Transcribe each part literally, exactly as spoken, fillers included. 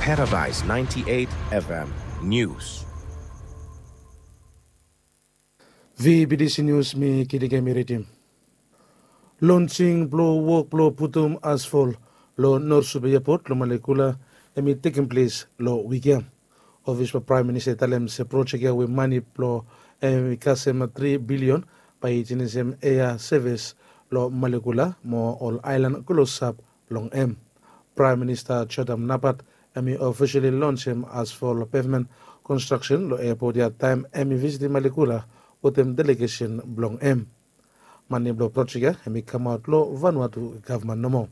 Paradise ninety-eight F M News. V B D C News, mi Kidike mi ridim. Lonsing blong wok blong putum asfol long North Sup Airport long Malekula hemi tekem ples long wik ya. Ofis blong Praem Minista i talem se projek ya we mane blong hem i kasem tri bilion bae i jenisim ea sevis long Malekula mo ol aelan klosap long hem. Praem Minista Jodam Napat hemi ofisali lonsem asfol pevmen konstraksen long eapot ya taem hemi visitim Malekula wetem delegesen blong hem. Mane blong projek ya hemi kamaot long Vanuatu gavman nomo.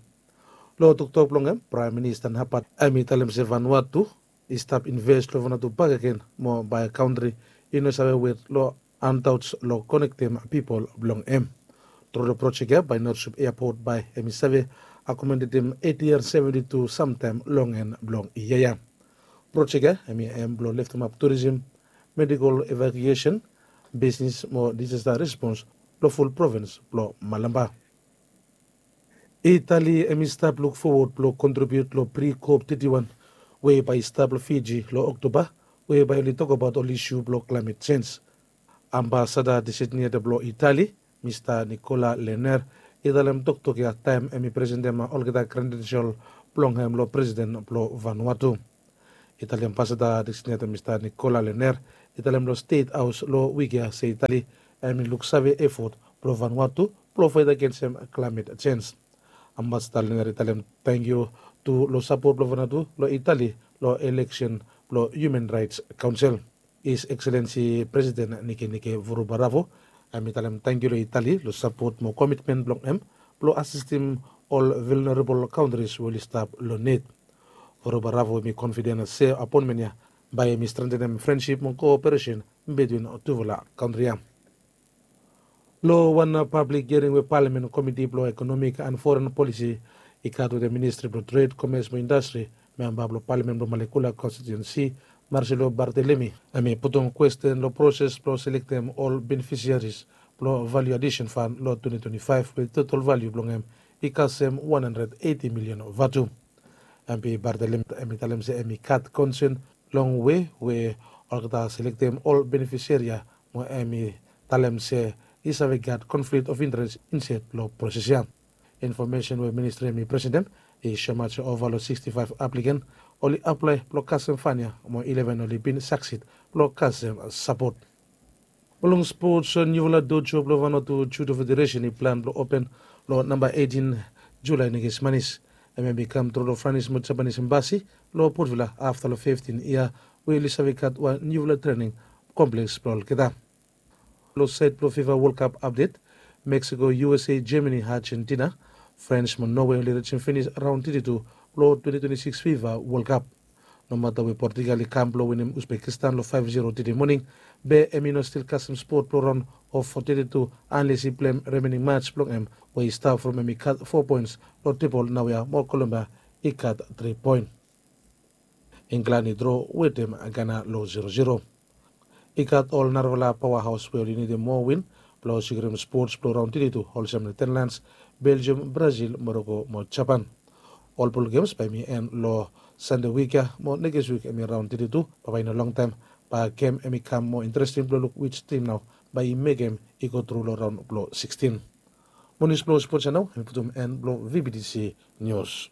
Long toktok blong hem, Praem Minista Napat hemi talem se Vanuatu i stap inves long Vanuatu bakegen mo bae kantri i no save wet long antaoj long konektem pipol blong hem. Tru long projek ya bae North Sup Airport bae hemi save akomodetem eiti an seventi tu samtaem long en blong yia ya. Projek ya hemi hem blong leftemap turisim, medikol evakuesen, bisnis mo disasta respons long ful provins blong Malampa. Itali hemi stap luk fowod blong kontribiut long pri-kop teti wan we bae i stap long Fiji long Oktoba, we bae oli tokbaot ol isu blong klaemet jenj. Ambasada designated blong Itali, Mista Nicola Lener, i talem toktok ya taem hemi presentem olgeta kredensel blong hem long presiden blong Vanuatu. Itali Ambasada designated Mista Nicola Lener i talem long Stet Haos long wik ya se Itali hemi luksave efot blong Vanuatu blong faet agensem klaemet jenj. Ambasada Lener i talem tangkiu tu long sapot blong Vanuatu long Itali long eleksen blong Human Raets Kaonsel. His Excellency President Nikenike Vurubaravu hemi talem tangkiu long Itali long sapot mo komitmen blong hem blong asistim ol vulnerable kantris we oli stap long nid. Vurubaravu hemi konfiden se apoenmen ya bae hemi strentenem frensip mo koperesen bitwin tufala kantri ya. Long wan pablik hiaring we Palamen Komiti blong Ekonomik an Foren Polisi i gat wetem Ministri blong Tred, Komes mo Indastri, memba blong Palamen blong Malekula konstitiuensi, Marcelo Barthelemy, hemi putum kwesten long proses blong selektem ol benefisiaris blong valiu adisen fan long twenti twenti faef we totol valiu blong hem i kasem wan handred eiti milion vatu. Hemi Barthelemy hemi talem se hemi gat konsen long we we olgeta selektem ol benefisiari ya mo hemi talem se i save gat konflikt of interes insaed long proses ya. Infomesen we ministri hemi presentem i soemaot se ova long siksti faef apliken oli aplae blong kasem fan ya mo ileven oli bin saksid blong kasem sapot. Mo long spots, niufala dojo blong Vanuatu Judo Federesen i plan blong open long namba eitin Julae nekis manis. Hemia i kam tru long Franis mo Japanis Embasi long Port Vila afta long fiftin yia we oli save gat wan niufala trening kompleks blong olgeta. Long saed blong FIFA World Cup apdet, Mexico, U S A, Germany, Argentina, France mo Norway oli rijim finis raon teti tu blong twenti twenti sikis FIFA World Cup. Nomata we Portugal i kam blong winim Uzbekistan long faef zero tede moning, be hemi no stil kasem spot blong raon of teti tu anles i pleim remening mats blong hem we i stap from hemi gat fo poens long tebol naoia mo Colombia i gat tri poen. Inglan i dro wetem Gana long zero zero. I gat ol narafala paoa haos we oli nidim moa win blong sekiurim spots blong raon teti tu olsem Netherlands, Belgium, Brazil, Morocco mo Japan. Ol bol gems bae hemi en long Sande wik ya mo nekis wik hemi raon teti tu, bambae i no longtaem bae gem hemi kam moa interesting blong luk wij tim nao bae i mekem i go tru long raon blong sikstin. Mo nius blong spots ya nao hemi putum en blong V B T C Nius.